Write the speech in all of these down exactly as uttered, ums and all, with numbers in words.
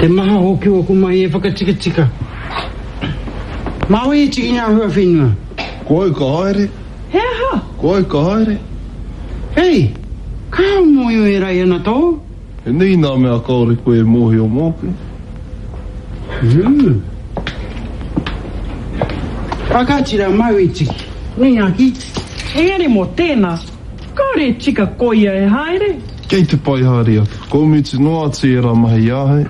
Te maha hoki o aku mahi e whakatikatika. Mā wai e tiki ngā hua whenua? Ko au ka haere. He aha? Ko au ka haere. Hei, ka mōhio e Rai ana tō? He nui nā mea kāore koe e mōhio mōku. Mm. Whakatira mau e tiki. Nei aki. Engari mō tēnā, kāore e tika ko ia e haere. Kei te pai haere atu. Ko mutu noa atu e rā mahi i ahau.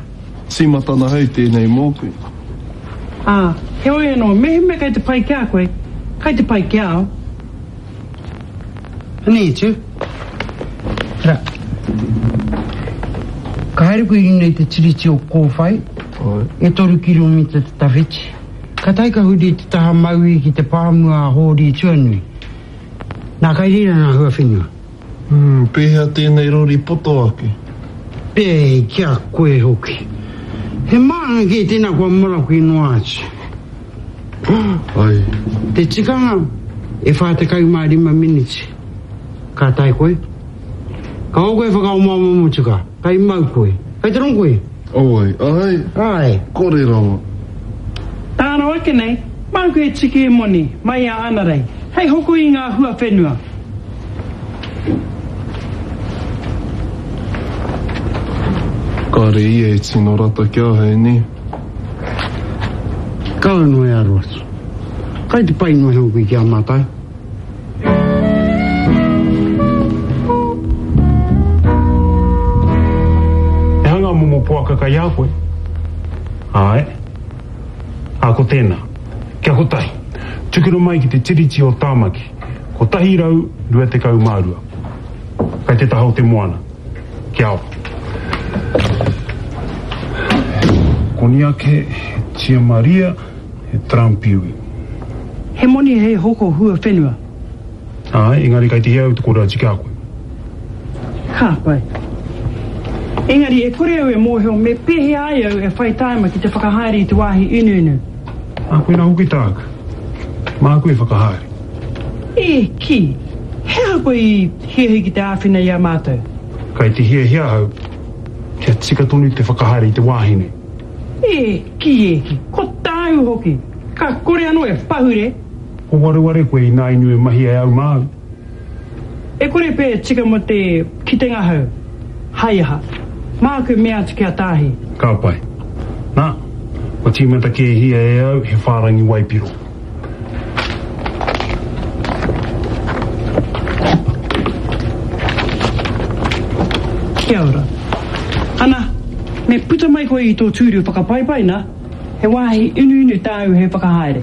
Tīmatana hau tēnei mōku. Ā, heoi anō, mehemea kei te pai ki a koe, kei te pai ki a au. Anei atu. Ra. Ka haere koe i runga i te tiriti o Kōwhai, Ai. e toru kiromita te tawhiti. Ka tae ka huri te taha maui ki te pāmua a Hōri Tuanui. Nā kai reira ngā hua whenua. Hmm, pēhea tēnei rori poto ake? Pē, kia koe hoki. He mānga kē tēnā kua maraku i noa atu. Ai. Te tikanga, e whā tekau mā rima miniti. Ka tae koe. Ka o koe whakaomaoma motuka. Kai mau koe. Kai te rongo koe. Oi, ai. Ai. Kore rawa. Tāna ake nei, māku e tiki e moni, mai a Anarei, hei hoko i ngā hua whenua. Kāre ia e tino rata ki ahau, nē? Kaua noa e aro atu. Kai te pai noa hoki ki a mātou. He aha ngā momo poaka kai a koe? Āe. Ā, ko tēnā. Kia kotahi. Tukuna mai ki te tiriti o Tāmaki. Kotahi rau rua tekau mā rua. Kai te taha o te moana. Kia ao. Koniake, he Tia Maria, he Trampiui. He moni hei hoko hua whenua. Āe, engari kai te hia au te kore atu ki a koe. Ka pai. Engari e kore au e mōhio me pēhea ai au e whai tāima ki te whakahaere i te wāhi inuinu. Ā, koinā hoki tāku. Māku e whakahaere. E, ki, he aha koe i hiahia ki te āwhina i a mātou? Kai te hiahia ahau, kia tika tonu te whakahaere i te wāhi nei. E, ki, e, ki, ko tāu hoki. Ka kore anō e pahure. Ko wareware koe i nā inu e mahi e au māu. E kore pē e tika mō te kitenga hau. Hai aha, māku mea atu ki a Tāhi. Ka pai. Nā, kua tīmata kē hia e au he whārangi waipiro. Kia ora. Ana, me puta mai koe i tō tūru whakapaipai nā, he wāhi inuinu tāu he whakahaere.